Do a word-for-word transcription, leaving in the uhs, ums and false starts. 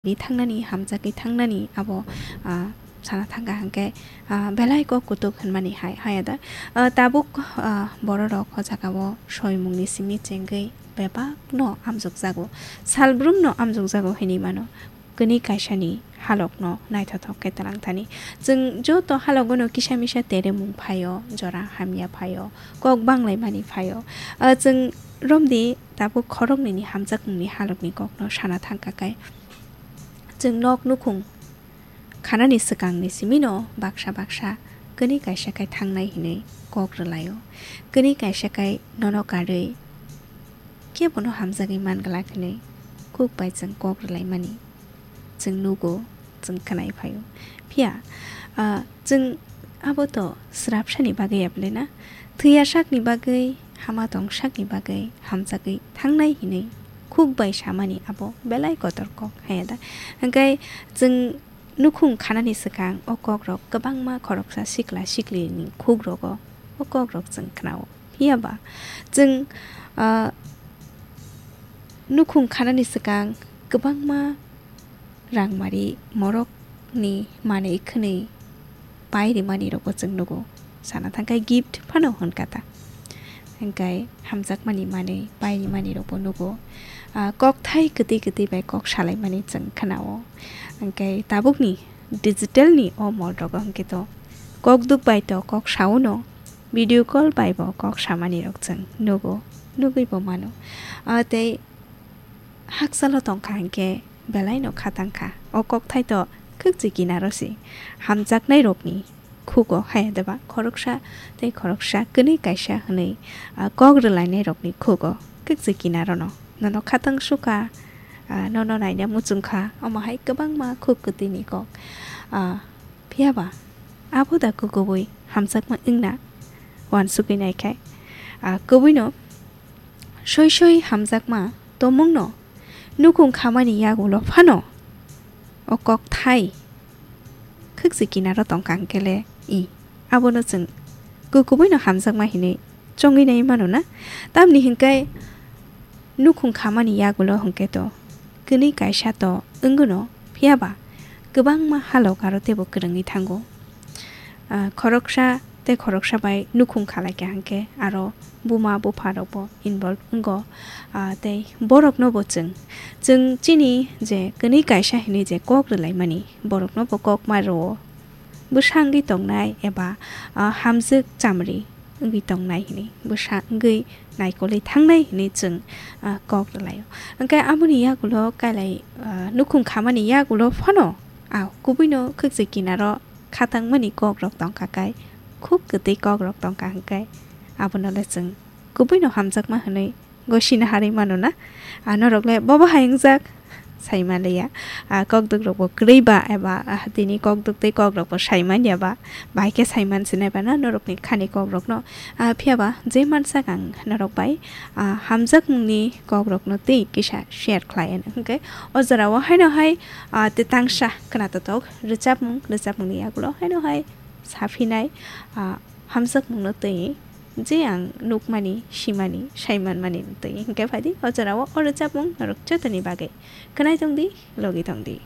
di thangnani, hamjagwi thangnani abo, ah, sana thangkha hwnkhe, ah, belai kok kutuk hwnmani hai, haya da. Ah, tabuk, ah, bororok o jagao soimungni simi chengwi bebakno amjokjago, salbrumno amjokjago hinwi mano. Kwnwi kaisani halokno naithothok khe twlang thani. Chwng joto halogono kisa misa teremung phaio, jora hamya phaio, kok banglaimani phaio. Ah, chwng romdi tabuk khoroknwini hamjakmungni halokni kokno sana thangkha khe. Chwng nok nukhung khanani swkangni simino baksa baksa kwnwi kaisa khe thangnai hinwi kok rwlaio. Kwnwi kaisa khe nono karwi kebono hamjagwi man glak hinwi kuk bai chwng kok rwlaimani chwng nugo, chwng khwnai phaio. Phiya, ah, chwng abo to srapsani bagwi ya bwle na? Thwiya sakni bagwi, hama tong sakni bagwi hamjagwi thangnai hinwi kuk bai samani abo belai kotor kok, haya da? Hwnkhe chwng nukhung khanani swkang o kokrok kwbangma khoroksa sikla siklini khugrogo o kokrok chwng khnao. Phiya ba chwng, ah, nukhung khanani swkang kwbangma rangmari morokni manwi khwnwi pai rimani rokbo chwng nugo. Sana thangkhe gift phano hwn kha ta. Hwnkhe hamjakmani manwi pai rimani rokbo nugo. Ah, kokthai kwtwi kwtwi bai kok salaimani chwng khnao. Hwnkhe tabukni digital ni o mol rogo hwnkhe to kok duk bai to kok sao no, video call bai bo kok samani rok chwng nugo, nugwi bo mano. Ah, tei hakchalo tongkha hwnkhe belai no khatang kha. O kokthai to khwkchi kinaro se hamjaknai rokni khugo, haya deba khoroksa tei khoroksa kwnwi kaisa hwnwi, ah, kok rwlainai rokni khugo, khwkchi kinaro no. Nono khatang sukha, ah, nono naina muchung kha, omo hai kwbangma khuk kwtwini kok. Ah, phiya ba abo da kukubui hamjakma wngna uansugwi nai khai. Ah, kubui no soi soi hamjakma tongmung no nukhung khamani yagulo phano o kokthai khwkchi kinaro tongkha hwnkhe le i, abono chwng kukubui no hamjakma hinwi chongwi nai mano na? Tamni hwnkhe nukhung khamani yagulo hwnkhe to kwnwi kaisa to wngwno, phiya ba kwbangma halok aro teibo kwrwngwi thango. Ah, khoroksa tei khoroksa bai nukhung khalai kha hwnkhe aro buma bupha rokbo involve wngo. Ah, tei borokno bo chwng, chwng chini je kwnwi kaisa hinwi je kok rwlaimani, borokno bo kok ma rwo. Bwsa wngwi tongnai eba, ah, hamjwk chamri wngwi tongnai hinwi, bwsa wngwi naikolwi thangnai hinwi chwng, ah, kok rwlaio. Hwnkhe aboni yagulo kailai, ah, nukhung khamani yagulo phano, ah, kubuino khwkchi kinaro khatangmani kokrok tongkha kai, khuk kwtwi kokrok tongkha hwnkhe abono le chwng kubuino hamjakma hwnwi gosina harwi mano na? Ah, norok le bobo hai wngjak sai manliya. Ah, kokduk rok bo kwrwi ba eba, ah, tini kokduk tei kokrok bo sai manya ba, bahai khe sai mansinai ba na norokni khani kokrokno? Ah, phiya ba je mansak ang norok bai, ah, hamjakmungni kokrokno tei kisa share khlai anw. Hwnkhe o jorao haino hai, ah, tetangsa khwnatotok rwchapmung, rwchapmungni yagulo haino hai saphinai, ah, hamjakmungno twi je ang nukmani, simani, saimanmani twi. Hwnkhe phaidi o jorao o rwchapmung norok jotoni bagwi khwnai tongdi, logi tongdi.